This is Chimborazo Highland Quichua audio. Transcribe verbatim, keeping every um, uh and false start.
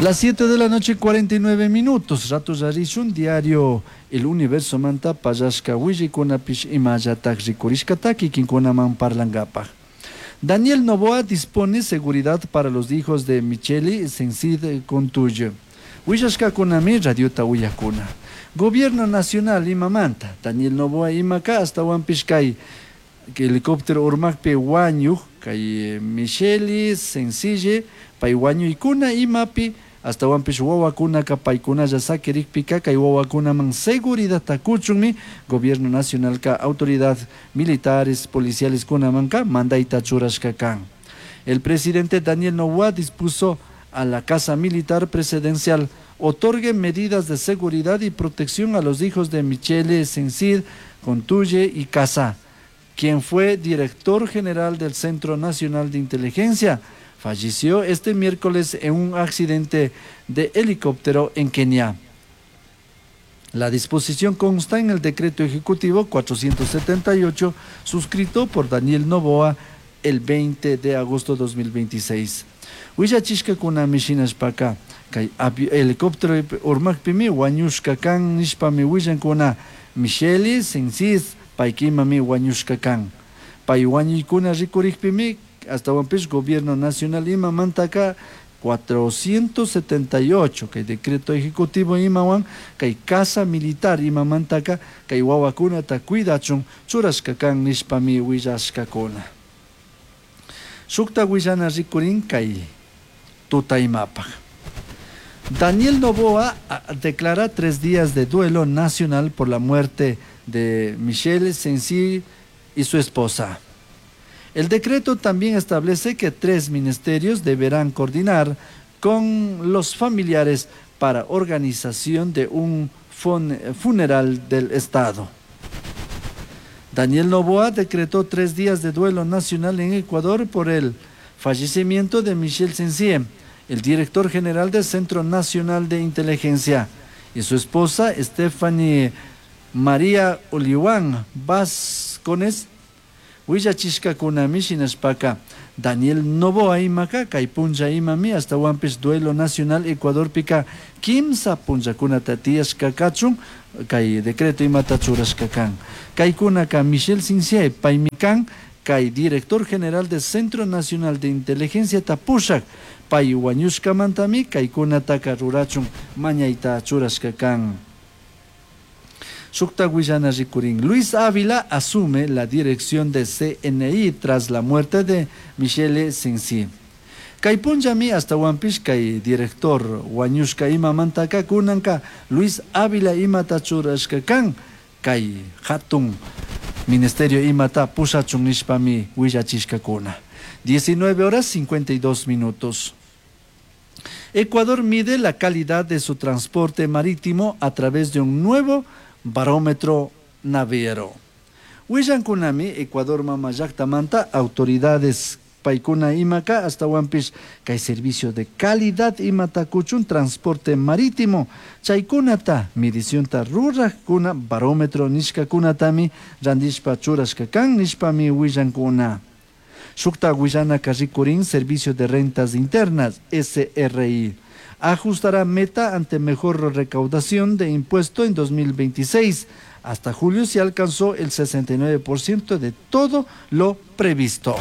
Las siete de la noche, cuarenta y nueve minutos. Rato rishun diario El Universo manta pallashka willaykunapish imallatak rikurishkata kikinkunaman parlangapaj. Daniel Noboa dispone seguridad para los hijos de Michele Sencid Contuyo. Willashkakunami radiota uyakuna. Gobierno Nacional imamanta Daniel Noboa imaka astawanpish kay helicóptero urmakpi wañuj kay Michele Sencille pay wañuykuna imapi astawanpish wawakunaka paykunalla sakirikpika kay wawakunaman seguridadta kuchunmi Gobierno Nacionalka autoridad militares, policiales kunamanka mandayta churashka kan. El presidente Daniel Noboa dispuso a la Casa Militar Presidencial otorgue medidas de seguridad y protección a los hijos de Michele Sencid Contuye y Casa, quien fue director general del Centro Nacional de Inteligencia. Falleció este miércoles en un accidente de helicóptero en Kenia. La disposición consta en el decreto ejecutivo cuatrocientos setenta y ocho suscrito por Daniel Noboa el veinte de agosto de dos mil veintiséis. Willachishkakunami shinashpaka kay helicóptero urmakpimi wañushka kan nishpami willankuna. Michelle Sensis paykimami wañushka kan. Pay wañuykuna rikurikpimi astawanpish Gobierno Nacional imamantaka cuatrocientos setenta y ocho kay decreto ejecutivo imawan kay Casa Militar imamantaka kay wawakunata cuidachun churashka kan nishpami willashkakuna. Shukta willana rikurin kay tutaymapak. Daniel Noboa declara tres días de duelo nacional por la muerte de Michelle Sensi y su esposa. El decreto también establece que tres ministerios deberán coordinar con los familiares para organización de un funeral del Estado. Daniel Noboa decretó tres días de duelo nacional en Ecuador por el fallecimiento de Michel Sensie, el director general del Centro Nacional de Inteligencia, y su esposa Stephanie María Oliwan Vázquez. Willachishkakunami shinashpaka Daniel Noboa imaka kay punlla imami astawanpish duelo nacional Ecuadorpika kimsa punllakunata tiyashka kachun kay decreto imata churashka kan. Kaykunaka Michel Sincier paymi kan kay director general del Centro Nacional de Inteligencia tapushak, pay wañushkamantami kaykunataka rurachun mañayta churashka kan. Shukta willana rikurin. Luis Ávila asume la dirección de C N I tras la muerte de Michele Sensi. Kay punllami astawanpish kay director wañushka imamantaka kunanka Luis Ávila imata churashka kan kay hatun ministerio imata pushachun nishpami willachishkakuna. diecinueve horas cincuenta y dos minutos. Ecuador mide la calidad de su transporte marítimo a través de un nuevo barómetro naviero. Willankunami Ecuador mama llaktamanta autoridades paykuna imaka astawanpish kay servicio de calidad imata kuchun transporte marítimo chaykunata medicionta rurakkuna barómetro nishkakunatami randishpa churashka kan nishpami willankuna. Shukta willanaka rikurin. Servicio de Rentas Internas, S R I, ajustará meta ante mejor recaudación de impuesto en dos mil veintiséis. Hasta julio se alcanzó el sesenta y nueve por ciento de todo lo previsto.